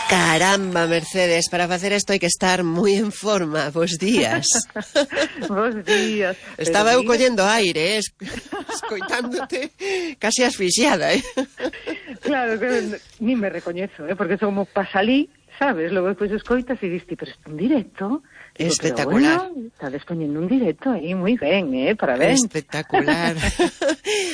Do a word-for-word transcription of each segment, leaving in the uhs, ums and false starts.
Caramba, Mercedes, para facer isto hai que estar moi en forma. Bos días. Bos días. Estaba eu collendo aire, eh, escoitándote casi asfixiada, eh. Claro, que ni me recoñezo, eh, porque como pasalí, sabes, logo despois escoitas e diste, pero está en directo. Digo, espectacular. Pero, bueno, está despoñendo un directo aí, moi ben, eh, parabéns. Espectacular.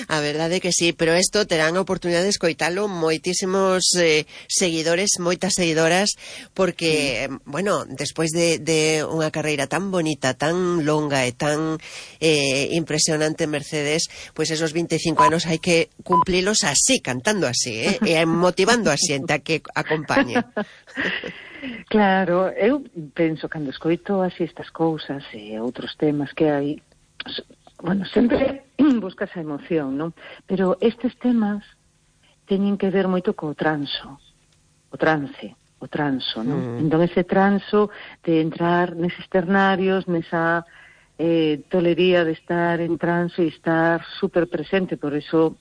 A verdade que sí, pero isto terán a oportunidade de escoitalo moitísimos eh, seguidores, moitas seguidoras, porque, sí. bueno, despois de, de unha carreira tan bonita, tan longa e tan eh, impresionante, Mercedes, pois pues esos vinte e cinco anos hai que cumplilos así, cantando así, eh, e motivando a xente a que acompañe. Claro, eu penso, cando escoito así estas cousas e outros temas que hai, bueno, sempre buscas a emoción, non? Pero estes temas teñen que ver moito co transo, o trance, o transo, non? Mm. Entón ese transo de entrar neses ternarios, nesa eh, tolería de estar en transo e estar super presente, por eso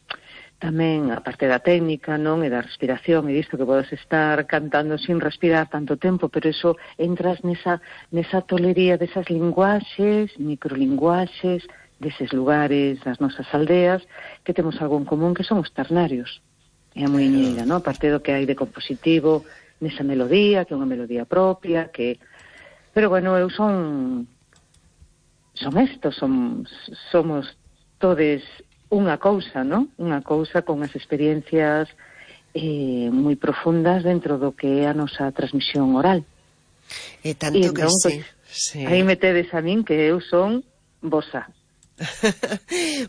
tamén a parte da técnica, non, e da respiración, e disto que podes estar cantando sin respirar tanto tempo, pero eso entras nesa, nesa tolería desas linguaxes, microlinguaxes, deses lugares, das nosas aldeas, que temos algo en común, que son os ternarios. É a muiñeira, non? A parte do que hai de compositivo nesa melodía, que é unha melodía propia, que... Pero, bueno, eu son... Son estos, son, somos todes unha cousa, non? Unha cousa con as experiencias eh, moi profundas dentro do que é a nosa transmisión oral. E tanto e entón, que sí. Pues, sí. Aí me tedes a min que eu son vosa.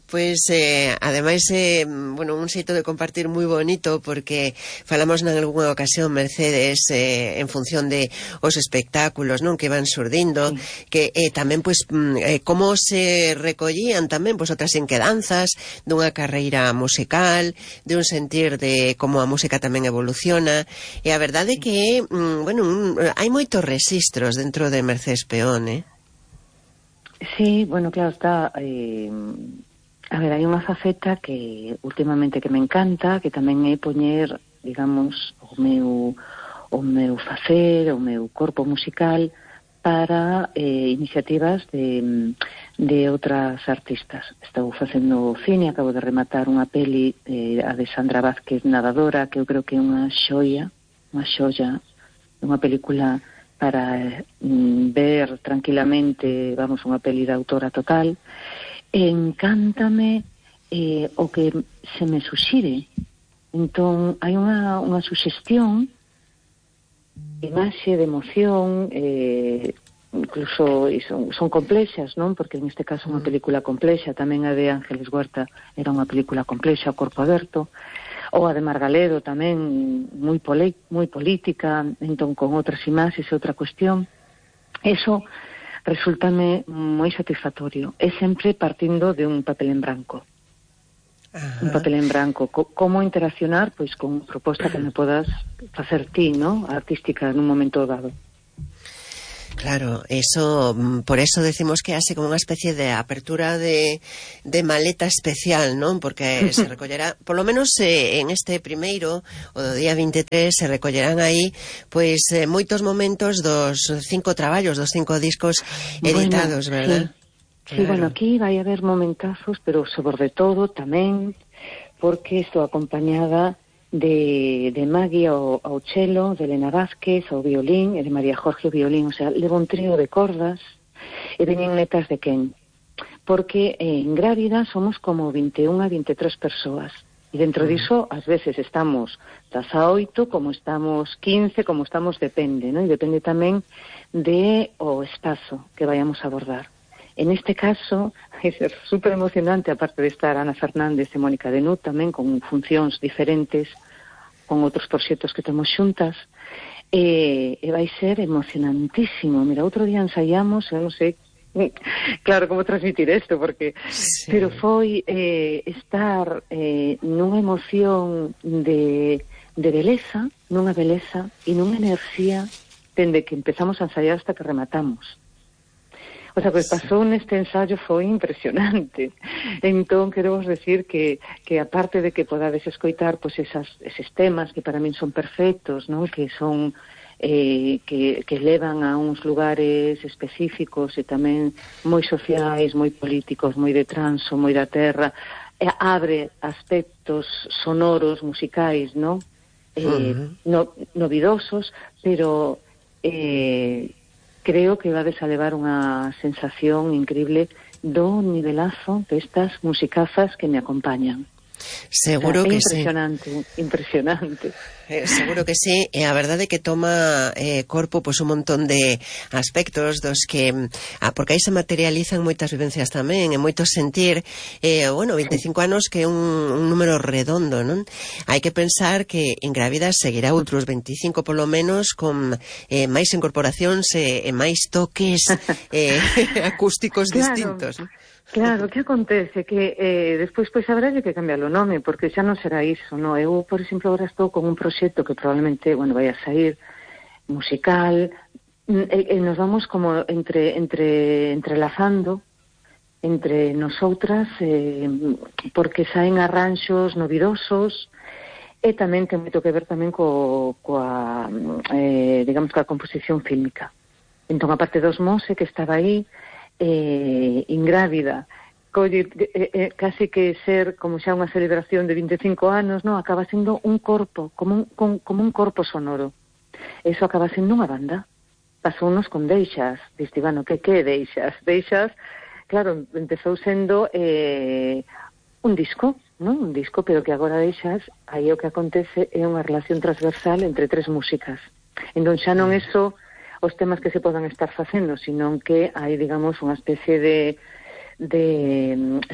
Pois, eh, ademais, eh, bueno, un xeito de compartir moi bonito, porque falamos nalgúna ocasión, Mercedes, eh, en función de os espectáculos, non, que van surdindo, sí. que eh, tamén, pois, eh, como se recollían tamén, pois, outras inquedanzas dunha carreira musical, de un sentir de como a música tamén evoluciona, e a verdade é que, mm, bueno, un, hai moitos rexistros dentro de Mercedes Peón, eh? Sí, bueno, claro, está... Eh, a ver, hai unha faceta que últimamente que me encanta, que tamén é poñer, digamos, o meu, o meu facer, o meu corpo musical para eh, iniciativas de, de outras artistas. Estou facendo cine, acabo de rematar unha peli, eh, a de Sandra Vázquez, Nadadora, que eu creo que é unha xoia, unha xoia, unha película... para mm, ver tranquilamente, vamos, unha peli de autora total. Encántame eh, o que se me suxire. Entón, hai unha, unha suxestión de imaxe, de emoción, eh, incluso son, son complexas, non? Porque en este caso unha película complexa, tamén a de Ángeles Huerta era unha película complexa, o Corpo Aberto, ou a de Margaledo tamén moi, poli, moi política, entón con outras imaxes e outra cuestión. Eso resultame moi satisfactorio. É sempre partindo de un papel en branco. Ajá. Un papel en branco. Co como interaccionar pois con unha proposta que me podas facer ti, ¿no? Artística nun momento dado. Claro, eso, por eso decimos que hace como unha especie de apertura de, de maleta especial, non? Porque se recollerá, por lo menos eh, en este primeiro, o do día vinte e tres, se recollerán aí, pois, eh, moitos momentos dos cinco traballos, dos cinco discos editados, bueno, verdad? Sí, claro. Sí, bueno, aquí vai haber momentazos, pero sobre todo tamén, porque estou acompañada de, de Maggie ao, ao cello, de Elena Vázquez ao violín, e de María Jorge ao violín, o sea, levo un trío de cordas, e veñen netas de quen? Porque eh, en Grávida somos como vinte e unha a vinte e tres persoas, e dentro mm. diso, ás veces estamos das a oito, como estamos quince, como estamos, depende, ¿no? E depende tamén de o espazo que vayamos a abordar. En este caso, é ser super emocionante, aparte de estar Ana Fernández e Mónica Denut, tamén con funcións diferentes, con outros proxectos que temos xuntas, e, e vai ser emocionantísimo. Mira, outro día ensaiamos, eu non sei, claro, como transmitir isto, porque... Sí. Pero foi eh, estar eh, nunha emoción de, de beleza, nunha beleza, e nunha enerxía, dende que empezamos a ensaiar hasta que rematamos. O sea, que pasou neste ensayo foi impresionante. Entón, quero vos decir que, que aparte de que podades escoitar pois esas, eses temas que para min son perfectos, non? Que son eh, que, que levan a uns lugares específicos e tamén moi sociais, moi políticos, moi de transo, moi da terra, e abre aspectos sonoros, musicais, non? Eh, uh-huh. no, novidosos, pero eh, creo que vades a levar unha sensación increíble do nivelazo destas musicazas que me acompañan. Seguro o sea, que impresionante, sí. Impresionante, Eh, seguro que sí, e a verdade é que toma eh, corpo pois un montón de aspectos dos que, ah, porque aí se materializan moitas vivencias tamén, e moito sentir, eh, bueno, veinticinco sí. anos que é un, un número redondo, non? Hai que pensar que en Grávida seguirá outros veinticinco polo menos con eh, máis incorporacións e, e máis toques eh, acústicos claro. distintos, non? Claro, que acontece? Que eh, despois pois habrá que cambiar o nome, porque xa non será iso, non? Eu, por exemplo, agora estou con un proxecto que probablemente, bueno, vai a sair musical, e, e nos vamos como entre, entre entrelazando entre nosotras, eh, porque saen arranxos novidosos, e tamén ten moito que ver tamén co, coa, eh, digamos, coa composición fílmica. Entón, a parte dos Mose, que estaba aí, Eh, ingrávida, colle, eh, eh, casi que ser como xa unha celebración de veinticinco anos, no, acaba sendo un corpo, como un, con, como un corpo sonoro. Eso acaba sendo unha banda. Pasounos con Deixas, diste, bueno, que que Deixas? Deixas, claro, empezou sendo eh, un disco, non? Un disco, pero que agora Deixas, aí o que acontece é unha relación transversal entre tres músicas. Entón xa non é só os temas que se podan estar facendo, sino que hai, digamos, unha especie de, de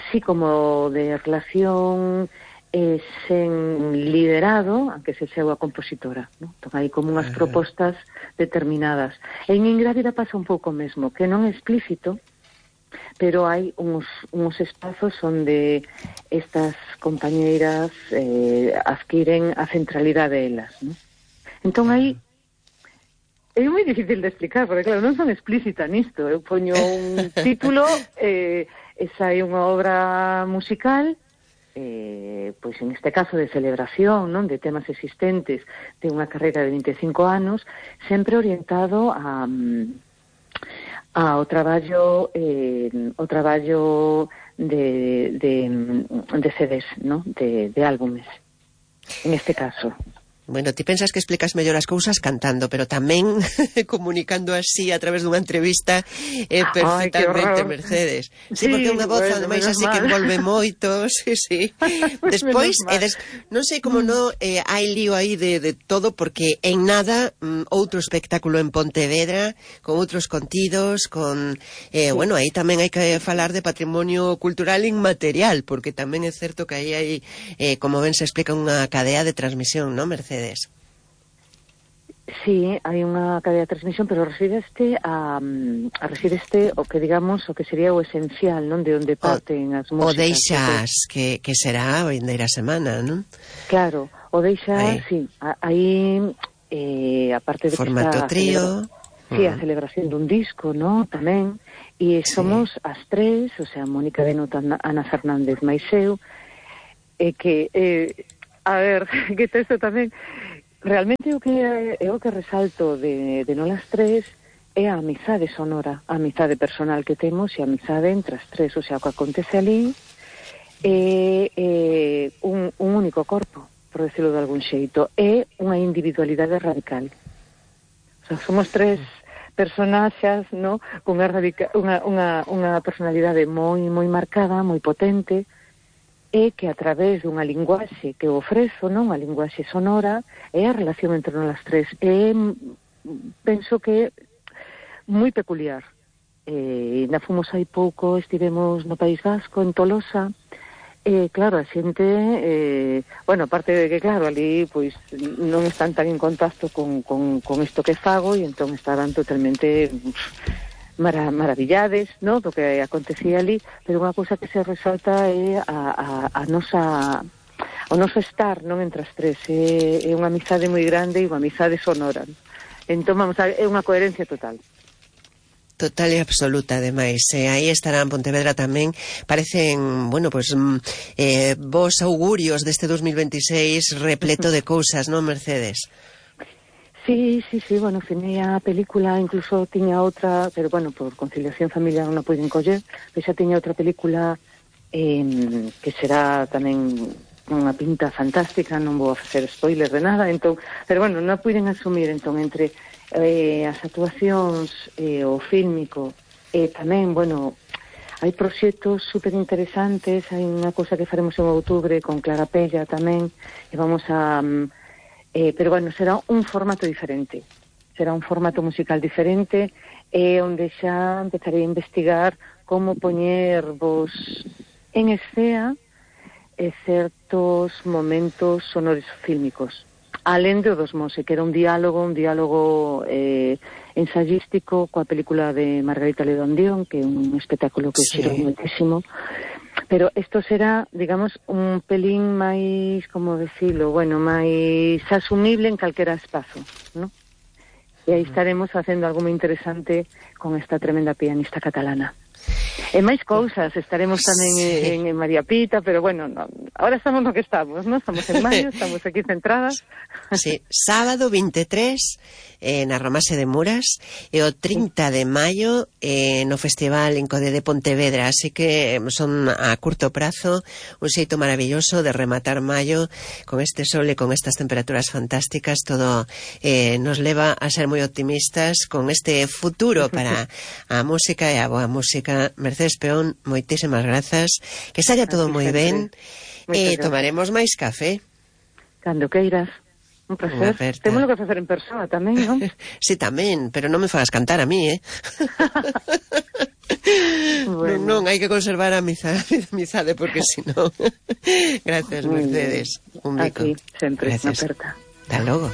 sí, como de relación eh, sen liderado, aunque se sea a compositora, ¿no? Entón, hai como unhas propostas determinadas. En Ingrávida pasa un pouco mesmo, que non é explícito, pero hai uns, uns espazos onde estas compañeiras eh, adquiren a centralidade delas, ¿no? Entón, aí é moi difícil de explicar, porque claro, non son explícita nisto. Eu poño un título, eh, esa é unha obra musical, eh, pois en este caso de celebración, non, de temas existentes de unha carreira de veinticinco anos, sempre orientado a, a o traballo eh, o traballo de, de, de C Ds, non, de, de álbumes, en este caso. Bueno, ti pensas que explicas mellor as cousas cantando, pero tamén comunicando así a través dunha entrevista é eh, perfectamente, ay, Mercedes. Sí, sí, porque é unha voz, bueno, ademais, así mal. Que envolve moito, sí, sí. Pues despois, eh, des, non sei como mm. no, eh, hai lío aí de, de todo, porque en nada mm, outro espectáculo en Pontevedra, con outros contidos, con... Eh, sí. Bueno, aí tamén hai que falar de patrimonio cultural inmaterial, porque tamén é certo que aí hai, eh, como ben se explica, unha cadea de transmisión, non, Mercedes? Sí, hai unha cadea de transmisión, pero resídeste a, a resídeste o que digamos o que sería o esencial, non, de onde parten as músicas. O Deixas, que, que será a vindeira semana, non? Claro, o Deixas, sí, aí eh, aparte de formato que trío, sí, a celebración dun disco, non, tamén, e somos sí. As tres, o sea, Mónica Benuta, Ana Fernández, máis eu, e que eh, a ver, que texto tamén realmente o que é o que resalto de, de nolas tres é a amizade sonora, a amizade personal que temos e a amizade entre as tres, o sea, o que acontece ali é, é un, un único corpo, por decirlo de algún xeito, é unha individualidade radical. O sea, somos tres personaxas, no, con unha, radica, unha, unha, unha personalidade moi moi marcada, moi potente, é que a través dunha linguaxe que eu ofrezo, non, a linguaxe sonora, é a relación entre nós tres. É, penso que moi peculiar. Eh, na fomos hai pouco, estivemos no País Vasco, en Tolosa, e claro, a xente, eh, bueno, aparte de que, claro, ali, pois, non están tan en contacto con, con, con isto que fago, e entón estaban totalmente... Mara, maravillades, no, do que acontecía ali, pero unha cousa que se resalta é a, a, a nosa o noso estar, non, entre as tres, é, é unha amizade moi grande e unha amizade sonora. Entón, vamos a, é unha coherencia total. Total e absoluta, ademais. E aí estará en Pontevedra tamén. Parecen, bueno, pues eh, vos augurios deste dos mil veintiséis repleto de cousas, non, Mercedes? Sí, sí, sí, bueno, finei a película, incluso tiña outra, pero bueno, por conciliación familiar non a puiden coller, pero xa tiña outra película eh, que será tamén unha pinta fantástica, non vou a facer spoiler de nada, entón, pero bueno, non a puiden asumir, entón, entre eh, as actuacións, eh, o fílmico, e eh, tamén, bueno, hai proxectos super interesantes, hai unha cousa que faremos en outubro con Clara Pella tamén, e vamos a... Eh, pero bueno, será un formato diferente, será un formato musical diferente, eh, onde xa empezaré a investigar como poñer vos en escena eh, certos momentos sonoros fílmicos, alén de dos Mose, que era un diálogo, un diálogo eh, ensayístico coa película de Margarita Ledondión, que é un espectáculo que sí. Xiro moitísimo. Pero isto será, digamos, un pelín máis, como decirlo, bueno, máis asumible en calquera espazo, ¿no? E aí estaremos facendo algo moi interesante con esta tremenda pianista catalana. E máis cousas, estaremos tamén sí. en, en María Pita, pero bueno, no, ahora estamos no que estamos, ¿no? Estamos en maio, estamos aquí centradas. Sí, sábado veintitrés eh, na Romase de Muras e o trinta de maio eh, no Festival Incode de Pontevedra, así que son a curto prazo un xeito maravilloso de rematar maio con este sol e con estas temperaturas fantásticas. Todo eh, nos leva a ser moi optimistas con este futuro para a música e a boa música. Mercedes Peón, moitísimas grazas, que saia todo moi ben e tomaremos máis café cando queiras. Un placer. Temos que facer en persona tamén, non? Sí, tamén, pero non me fagas cantar a mí, eh? Bueno. Non, non, hai que conservar a amizade, amizade porque si non... Gracias, Mercedes. Un bico. Aquí, sempre, na aperta. Hasta logo.